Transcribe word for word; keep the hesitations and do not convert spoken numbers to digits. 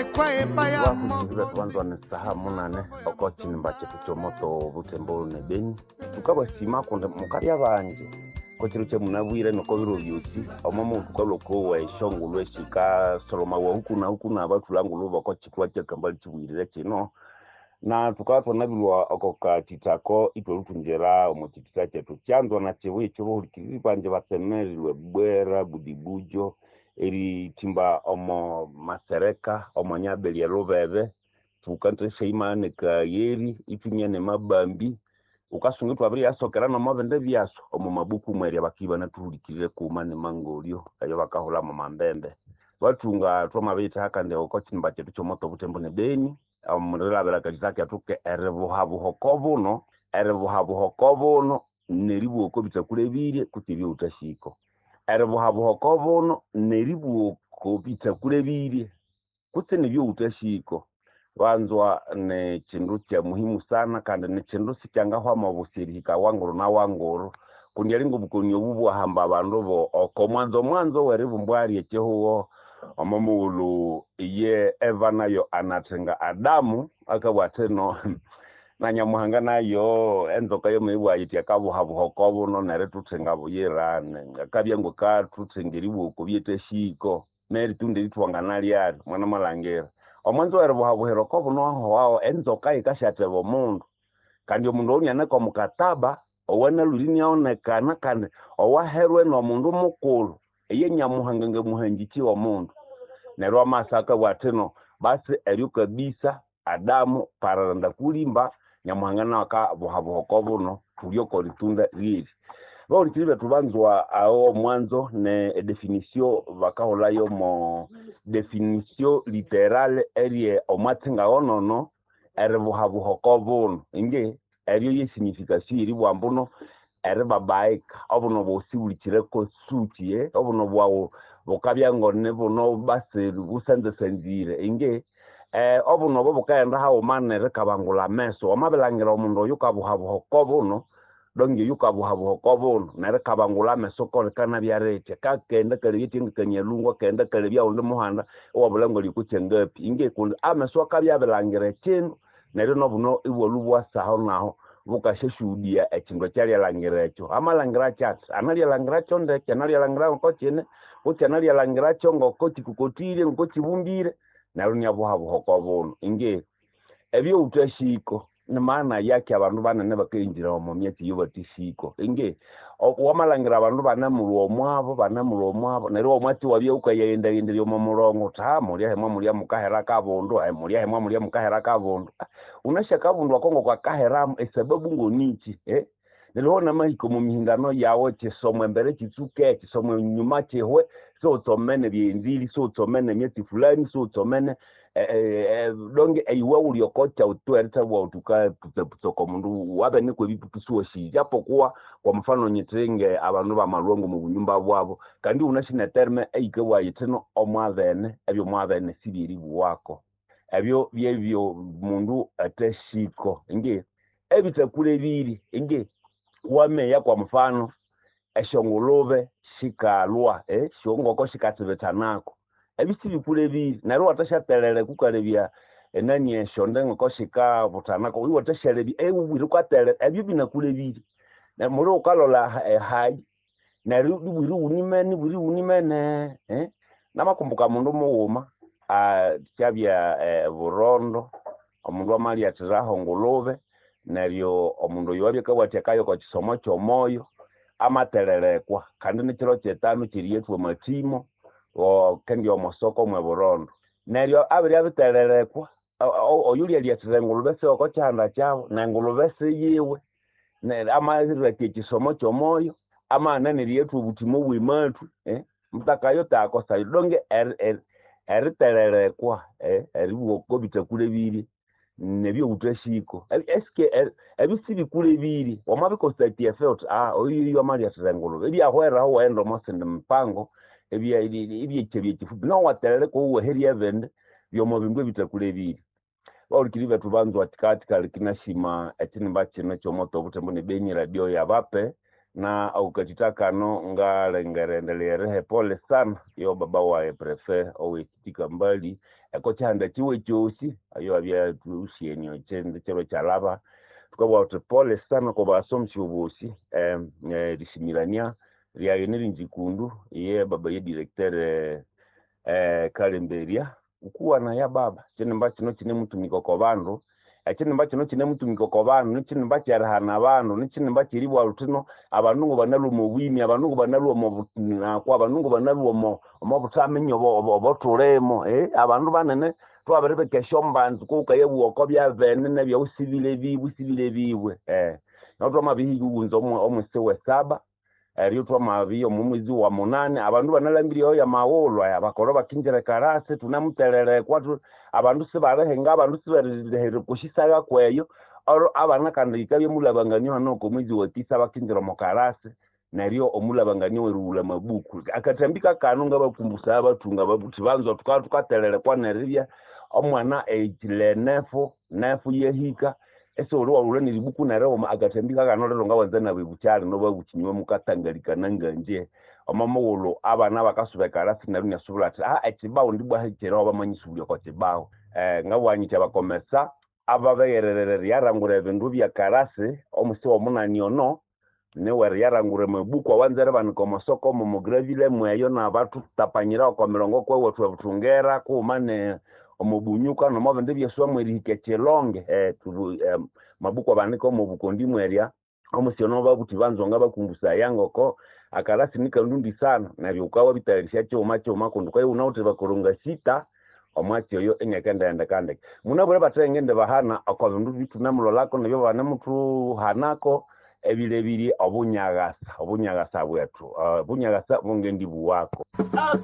Vakuzingivethu saha munane oko kinimba kyethu kyomoto Butembo ne Beni thukabasima kundi mukalya bangi kokiro kyamunabwire noko biro byosi omo muwuthukalhwa okowa esyongulhu esikasolhomawa huku na huku nabathulha ngulhu boko kithwa kyakambali kibuyirire kino na thukabya thwanabilhwa oko kathithako ithwalhuthungira omo kithitha kyethu kyanzwa na kibuya ekyobahulikiriri bangi batsemerirwe Bwera Budibujo erithimba omo masereka omo nyabeli elubebe thukanzesyaimana kayeri ithumia nemabambi wukasunga ithwabiriyasokera nomo bindi byaso omo mabuku mwerya bakibya ibanathuhulikirire kuma nemangolyo eyo bakahulha mwamambembe bathunga thwamabiyithaha kandi oko kinimba kyethu kyomoto Butembo ne Beni omurilhabira akathitha kethu ke eribuhabuha oko buno eribuhabuha oko buno neribugha oko bithakulebirye kutse ebyowuthasiko eribuhabuha oko buno neribugha oko bithakulebirye kutse nebyowuthasiko banzwa nikyindu kya muhimu sana kandi nikyindu sikyangahwamo obusi erihika wanguru na wanguru kundi alinga obukoni obu bwahamba abandu bo oko mwanzo mwanzo weribumbwa lyekyihugho omo mughulhu iye Eva nayo anathinga Adamu akabugha athino na Nyamuhanga nayo enzoka yomuyibugha yithi akabuhabuha oko buno nerituthinga buyirane akabya ngwakathuthinga eribugha oko byethasiko neritunda erithwanganalyalu mwana malhangira omwanzo weribuhabuhira oko buno ahowaho enzoka yikasyatheba omundu kandi omundu oyu nianeka omukataba owanalhwire iniaonekana kandi owaherwe nomundu mukulhu iye Nyamuhanga ngamuhangikyi omundu neryo amasa akabugha athino basi eryo kabisa Adamu pararanda kulimba Nyamuhanga nawu akabuhabuha oko buno thulye oko ritunda lyeri bahulikiriri bethu banzwa aho omwanzo ne edefinition bakahulhayo mo definition literale erye omwatsi ngawonono eribuhabuha oko buno ingi eryo ye signification yeribugha ambuno eribabaika obuno bwosi bulikireko suki eh? Obuno bwawu bukabya ngone buno basi busanzasanzire ingi eh, obuno obo bukaghenda haghuma nerikabangulha ameso wamabilhangira omundu oyu kabuhabuha oko buno donge oyu kabuhabuha oko buno nerikabangulha ameso kolikanabya ritya kakenda kalebya ekyangakanyalhungu akaghenda kalebya owundi muhanda iwabulha ngali oko kyangapi ingi kundi ameso akabya abilhangira ekyindu neryo nobuno ibwalhwa ibwasaho naho bukasyashuhudiya ekyindu ekyalyalangira ekyo amalhangira kyathi analyalangirakyo ndeke analyalangira ngoko kine kutse analyalangirakyo ngoko kikokotire ngoko kibumbire neryo inyabuhabuha oko buno ingi ebyowuthasiko ni maana yaki abandu banene bakayinjira omo myatsi eyobathasiko ingi wamalhangira abandu banemulhwa omwabo banemulhwa omwabo neryo omwatsi iwabya wukayaghendaghenderya omo mulongo wuthi ha mulya hemwa mulya mukahera kabundu mulya hemwa mulya mukahera kabundu wunasi akabundu ako ngoko esababu ngonikyi eh? Neryo namahika omo mihindano yawu kisomo embere kitsuke kisomo enyuma kihwe siwutsomene ebyenzili siwutsomene emyatsi fulani siwutsomene donge iwe wuli oko kyawu tu erithabugha wuthi wukaputsaputsa oko mundu wabinikwa ebipupu siwasi japokuwa kwa mfano nyithinge abandu bamalhwa ngomo bunyumba bwabo kandi wunasi neterme eyikabugha yithino omwabene ebyomwabene sibyeribuwako ebyo byebyo mundu athasiko ingi ebithakulebirye ingi wameya kwa mfano esyongulube sikalhwa eh, syongoko sikatsibithanako ebyo sibikulebirye neryo iwathasyaterereka wukalebya enani esyonde ngoko sikabuthanako iwathasyalebya ewubwire wukaterera ebyo binakulebirye muli wukalolha ehayi neryo ibwira iwunimene ibwira iwunimene eh? Namakumbuka mundu mughuma kyabya Burondo omundu amalyathiraho ngulube neryo omundu oyo abya akabugha athi akaya oko kisomo kyomoyo amatererekwa kandi nikiro kyetanu kyeriyathwa amathimo kendi omosoko mwe Burondo neryo abirya bitererekwa oyulya engulube siwe oko kihanda kyabu nengulube siyiwe amabirilhakya ekisomo kyomoyo amaghana neriyathwa obuthimo obwemathwi eh? Mutakayo takosayo donge eritererekwa eribugha oko bithakulebirye nebyowuthasiko eske ebyo sibikulebirye wamabikosa efe wuthi ah oyu amalyathira engulube ibyahweraho iwaghenda omo sindi mipango ibyekyabya kyifupi nawu iwaterereka iwaherya ebindi byomo bindu ebithakulebirye bahulikiriri bethu banzwa kikathikali kinasima ekinimba kino ekyomoto obuthembo ne Beni radio yabape na okukathitha kano ngalengera endelea eriha epole sana yo baba waye prefe owekitika mbali Eko kyihanda kiwe kyosi ayo abya thusyeni ekyindi kiro kyalaba. Thukabugha thuthi pole sana oko basomesya bosi eh, erisimirania lyayi niringikundu iye baba ye directeur eh, Kalemberya ukuwana ya baba kyinimba kino kinemutumika oko bandu, ekyinimba kino kinemutumika oko bandu nikyinimba kyerihana abandu, nikyinimba kyeribugha luthino abandu ngobanalhwa omo bwimi, abandu ngobanalhwa omo bunakwa, abandu ngobanalhwa omo omo buthaminya obothulimo eh, abandu banene thwabiribika esyombanza kughukayabugha oko byabene nebyawusibile biwe usibile biwe eh. Neryo thwamabihika iwunza omwisi wesaba eryo thwamabya omo mwezi wa munani abandu banalhambire eyo yamaghulhu aya abakolho bakinjira ekarasi thunemutererekwa abandu sibalihinga, abandu sibalihira oko syisaga kweyo. Olwo abana kandi yikabya mulhabanganio hano oko mwezi wa tisa bakinjira omo karasi neryo omulhabanganio werighulha amabuku. Akathambi kakano ngabakumbusaya abathunga babuthi banza thukabya thukatererekwa neribya omwana ehikile nefu, nefu yahika isighuli iwaghulha neribuku nerighuma akathambi kakano lero ngawanza nabebukyali nobabuthi inywe mukatangalikana ngangye. Omo mughulhu abana bakasuba ekarasi neryo inasubula athi ah ekibawo ndibwa hikireho bamanyisubulya oko kibawo. Ngabugha nyithi abakomesa ababighererere eriyarangura ebindu byekarasi omusi womunani ono niwe eriyarangura amabuku awanza eribanika omosoko omo gravile mweyo nabathutapanyira oko mirongo kwewethu ebuthungera kughuma ne omo bunyuka nomo bindi byeswamu erihika ekyilonge eh, tubu, eh, mabuku abanika omo bukondi mwerya omusi ono babuthi banza ngabakumbusaya ngoko akarasi nikandundi sana neryo wukawabitayarisya kyighuma kyighuma kundi wukabya iwunawithe bakoronga sita omwatsi oyo iniakendighenda ndeke. Munabwire bathe ngindibahana oko bindu bithunemulholako nebyo banemuthuhanako ebilebirye obunyagasa, obunyagasa bwethu, obunyagasa bungendibuwako.